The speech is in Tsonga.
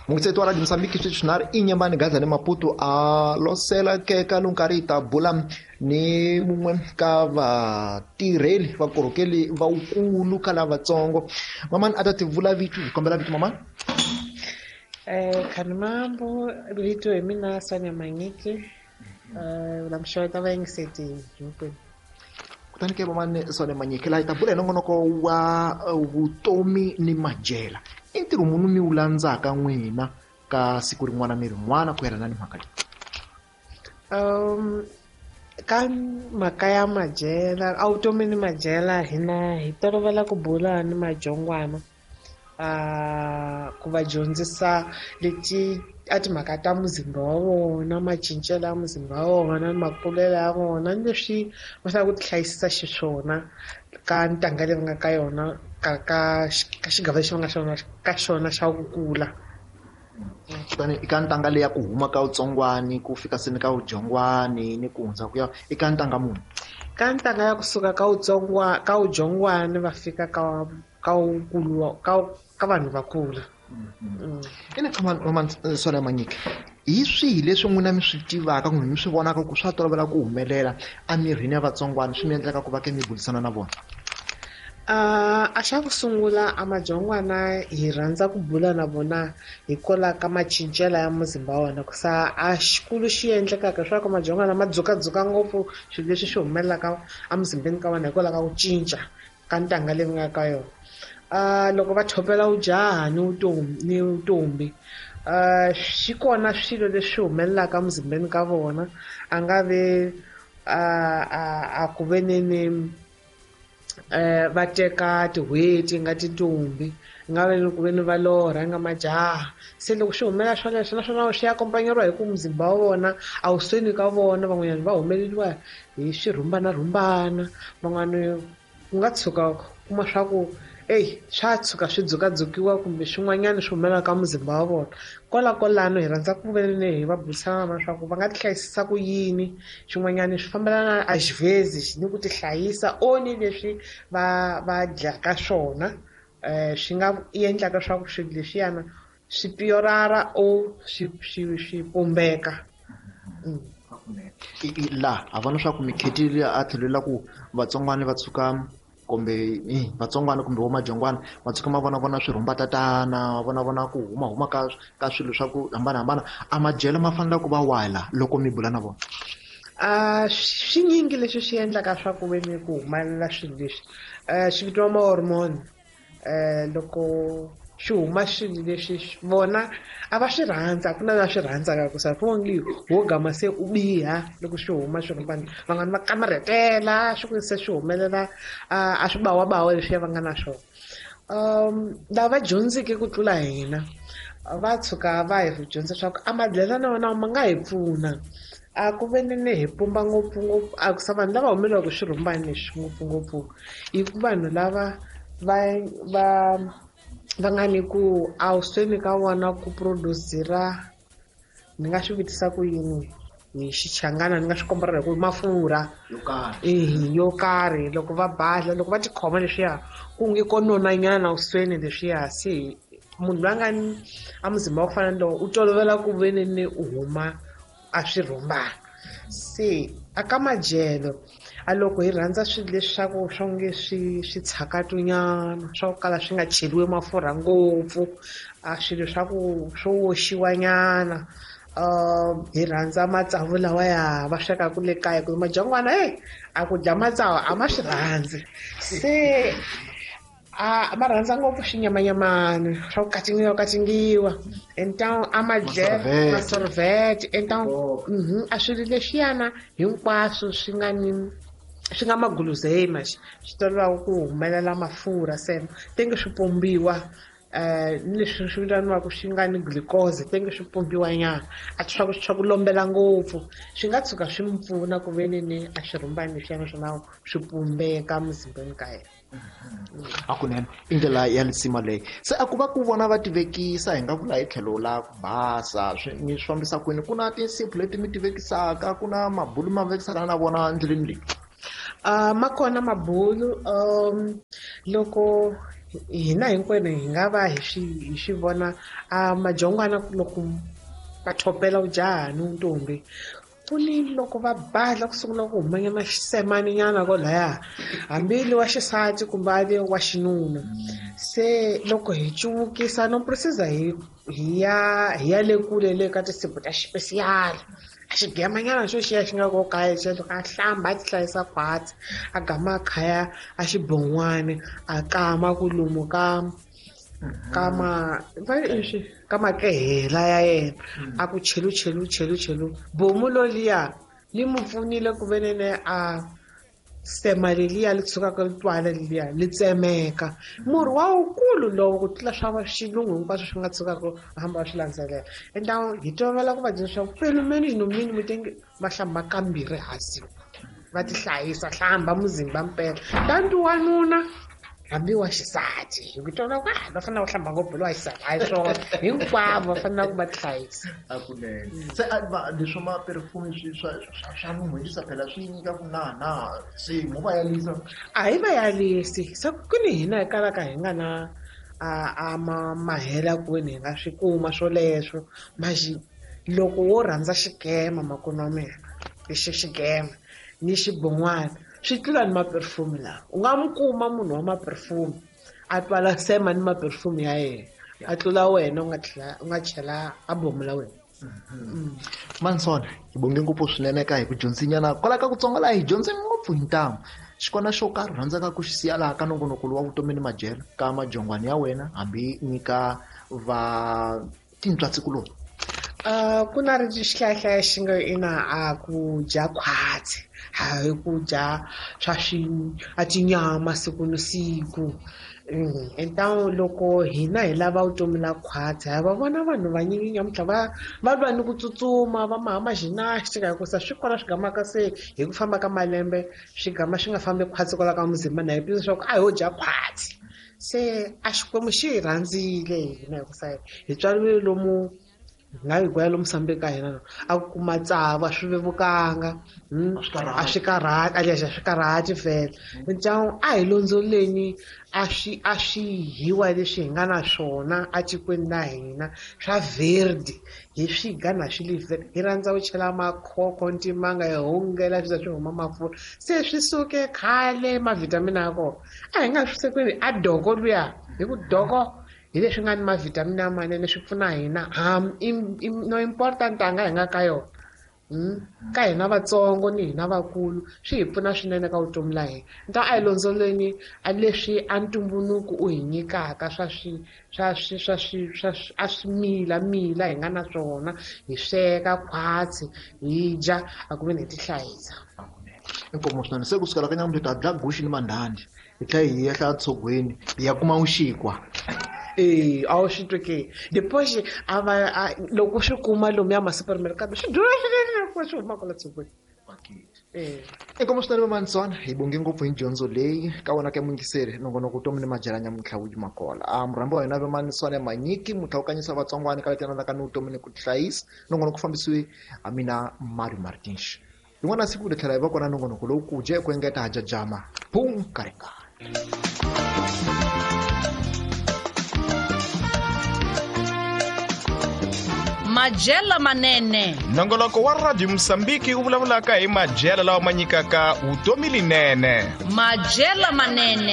Mungitsetwa Radio Mozambique sweswi Inyambani Gaza ni Maputo a losela keka lunkarhi ta bula ni mun'we ka vatirheli vakorhokeli va wukulu ka lavatsongo. Mamani a ta ti vula vito, hi kombela vito mamani. Khanimambo, vito hi mina Sonia Manyiki. La mxeweta vayingiseti hinkwenu. Kutani ke mamani Sonia Manyiki, laha hi ta bula hi nongonoko wa vutomi ni madyela. I ntirho muni mi wu landzaka n'wina ka siku rin'wana ni rin'wana ku yelana ni mhaka leyi? Ka mhaka ya madyela, a vutomi ni madyela, hina hi tolovela ku bula ni madyongwana, ku va dyondzisa leti a timhaka ta muzimba wa vona, macincelo ya muzimba wa vona, ni makulelo ya vona, ni leswi va faneleke ku tihlayisisa xiswona ka ntanga leyi va nga ka yona, ka xigava lexi va nga xona ka xona xa ku kula. Kutani eka ntanga leyi ya ku huma ka vutsongwani ku fika se ni ka vudyongwani ni ku hundza ku ya eka ntanga muni? Ka ntanga ya kusuka ka wutsongwa, ka vudyongwani va fika ka wukulu, ka vanhu va kula. Ene ka mama Sonia Manyiki, hi swihi leswi n'wina mi swi tivaka kumbe mi swi vonaka ku swa tolovela ku humelela emirini ya vatsongwana swi mi endlaka ku va ke mi burisana na vona? A xa ku sungula a madyongwana hi rhandza ku bula na vona hikwalaho ka macincelo ya muzimba wa vona, ku sa a xikulu xi endlekaka leswaku madyongwana ma dzukadzuka ngopfu swilo leswi swi humelelaka emuzimbeni ka vona hikwalaho ka ku cinca ka ntanga leyi va nga ka yona. Loko va thopela vujaha ni vutomi ni vutombi, swi kona swilo leswi humelelaka emuzimbeni ka vona, a nga ve a ku ve ni va teka tin'hweti nga tintombi, nga ve ni ku ve ni va lorha nga majaha. Se loko swi humelela swoleswo, naswona swi akompanyeriwa hi ku muzimba wa vona a wu sweni ka vona, van'wanyana va humeleriwa hi swirhumbanarhumbana, van'wani ku nga tshuka kuma swa ku ey swa tshuka swi dzukadzukiwa kumbe swin'wanyana swi humelelaka ka muzimba wa vona. Kwalakwalano hi rhandza ku ve ni hi va burisana na vona leswaku va nga tihlayisisa ku yini, swin'wanyana swi fambelana a xivhezi ni ku tihlayisa o ni leswi va dyaka swona, swi nga endlaka leswaku swilo leswiyana swi piyorara o swi pumbeka. La ha vona swa ku mikhetile a tlhelo la ku vatsongwana va tshuka kumbe vatsongwana kumbe vo madyongwana va tshuka ma vona vona swirhumbatatana, va vona vona ku huma huma ka swilo swa ku hambanahambana. A madyelo ma fanele ku va wala loko mi bula na vona? Swinyingi leswi swi endlaka swa ku ve ni ku humelela swilo leswi, swi vitiwa ma-hormone. Loko swi huma swilo leswi vona a va swi rhandza, a ku na la swi rhandzaka ku sa onge wo gama se u biha loko swi huma swirhumbana, van'wani va kamarhetela swi ku se swi humelela, a swi bawabawa leswiya va nga na swona. Lava dyondzeke ku tlula hina va tshuka va hi dyondzisa swa ku a madyelo na wona ma nga hi pfuna, a ku ve ni hi pumba ngopfungopfu, a ku sa vanhu lava humelelaka swirhumbani leswi ngopfungopfu i ku vanhu lava va nga ni ku a wu sweni ka vona ku produce-ra, ni nga swi vutisa ku yini hi xichangana, ni nga swi komba hi ku mafurha yo karhi. Yo karhi loko va badla, loko va tikhoma leswiya ku nge ko nonanyana usweni leswiya, se munhu loyi a nga ni a muzimba wa ku fana ni lowu u tolovela ku ve ni u huma a swirhumbana. Se a ka madyelo a loko hi rhandza swilo leswaku swo nge swi tshakatunyana swa ku kala swi nga cheriwi mafurha ngopfu, a swilo swa ku swo oxiwanyana, hi rhandza matsavu lawa ya va swekaka le kaya, ku madyangwana a ku dya matsavu a ma swi rhandzi, se a va rhandza ngopfu swinyamanyamani swa ku katingiwa katingiwa, enta a madyelo masorvet, enta a swilo leswiyana hinkwaswo swi nga ni swi nga maguluzema, swi tolovaka ku humelela mafurha, se tenge swi pombiwa, ni leswi swi vitaniwaka swi nga ni glucose, tenge swi pombiwa nyana, a swa ku lombela ngopfu, swi nga tshuka swi mi pfuna ku ve ni a swirhumbani leswiya naswona swi pumbeka muzimbeni ka yena. Hakunene i ndlela ya lisima leyi. Se a ku va ku vona va tivekisa, hi nga vula hi tlhelo la ku basa, mi swi fambisa kwini? Ku na tinsipho leti mi tivekisaka, ku na mabulu ma vekisaka na vona endleleni leyi? Ma kona mabulu, loko hina hinkwenu hi nga va hi swi vona a majongwana loko va thopela ujaha ni ntombi, ku ni loko va badla ku sungula ku humanyana xisemaninyana kolaya, hambi li wa xisati kumbe a li wa xinuna. Se loko hi cuvukisa no precisa hi ya le kule le ka tinsimu ta xipesiyali, a xigemanyana xo xiya xi nga ko kaya xo a hlamba a ti hlayisa khwatsi, a gama a khaya a xibon'wani, a kama ku lomu ka ka makehela ya yena, a ku chelu chelu chelu chelu. Bomu loliya li mu pfunile ku venene a sema leliya li tshukaka li twala leliya li tsemeka. Murhi wa wukulu lowo ku tlula swa xilungu hinkwaswo swi nga tshukaka hamba va swi landzelela. Ende hi tolovela ku va dyondzisa swa pelo menu no mini mutenge va hlamba kambirhi hasi, va ti hlayisa, hlamba muzimba mpela. Tanti wanuna hambi wa xisati, hi ku twana ku va fanele ku hlamba ngopfu lowa xisati, hayi swona hinkwavo va fanele ku va tihlayisa. Hakunene se leswi ma perfume swa nun'hwerisa phela swi nyika ku na se mo va yalisa. A hi va yalisi, se ku ni hina hi kalaka hi nga na a mahela kwini hi nga swi kuma swoleswo. Maxi loko wo rhandza xigema makwenu wa mina, lexi xigema ni xibon'wana swi tlula ni maperfume lawa. U nga n'wi kuma munhu wa maperfume a twala sema ni maperfume ya yena, a tlula wena u nga chela a bomu la wena. Mansona, hi bonge ngopfu swinene ka hi ku dyondzinyana kwala ka kutsonga laha hi dyondze ngopfu hi ntamu. Xikona xo karhi rhandzaka ku xi siya laha ka nongonoko wa vutomi ni madyelo ka majongwani ya wena, hambi nyika va tintswatsikuloni. Ku na ri xihlayahlaya xi nga ina a ku dya khwatsi, hayi ku dya swa swi a tinyama siku ni siku. Enta loko hina hi lava vutomi la khwatsi, ha va vona vanhu vanyingi nyamuntlha va lwa ni ku tsutsuma, va maha gymnastic, hikusa swi kona swi gamaka se hi ku famba ka malembe swi gama swi nga fambi khwatsi kwala ka muzimba, na hi tiva leswaku a ho dya khwatsi. Se a Xikwembu xi hi rhandzile hina hikusa hi tswariwile lomu nga hi gwaya lomu sambeni ka hina, a ku kuma tsavu a swi vevukanga, a swi karhati, a lexi a swi karhati vhele. Ndyangu a hi londzoleni a swi hiwa leswi hi nga na swona etikweni la hina swa verde, hi swi ga na swi li verde. Hi rhandza ku chela makhokho, ntimanga, hi hungela swi za swi huma mafurha, se swi suke khale mavhitamini ya kona a hi nga swi sekweni. A doko luya hi ku doko hi leswi nga ni mavhitamini lamanene swi pfuna hina, no important anga hi nga ka yona. Ka hina vatsongo ni hina vakulu swi hi pfuna swinene ka vutomi la hina. Nta a hi londzoleni a leswi a ntumbuluko u hi nyikaka swa swi swa swi swa swi swa a swimila mila hi nga na swona, hi sweka khwatsi, hi dya, a ku ve ni hi tihlayisa. Inkomo swinene. Se kusukela ka nyamuntlha ta dya guxi ni mandhandhi, hi tlhela hi yehla tshogweni hi ya kuma vuxikwa. A wu swi twi ke? Depois a va loko swi kuma lomuya ma-supermarket swi durha swinene loko swi huma kwala tshogweni. Inkomo swinene Vamansona, hi bonge ngopfu hi dyondzo leyi ka wena ka muyingiseri nongonoko vutomi ni madyela nyamuntlha wu yima kona. A murhambi wa hina Vamansona Manyiki, mutlhawukanyisa vatsongwana ka leti ka ni vutomi ni ku tihlayisa. Nongonoko ku fambisiwe ha mina Mario Martins. Rin'wana siku ri tlhela hi va kona nongonoko lowu ku dya ku engeta ha jajama boom karingana. Madyelo manene. Nongonoko wa Radio Mozambique wu vulavulaka hi madyelo lawa ma nyikaka vutomi linene. Madyelo manene.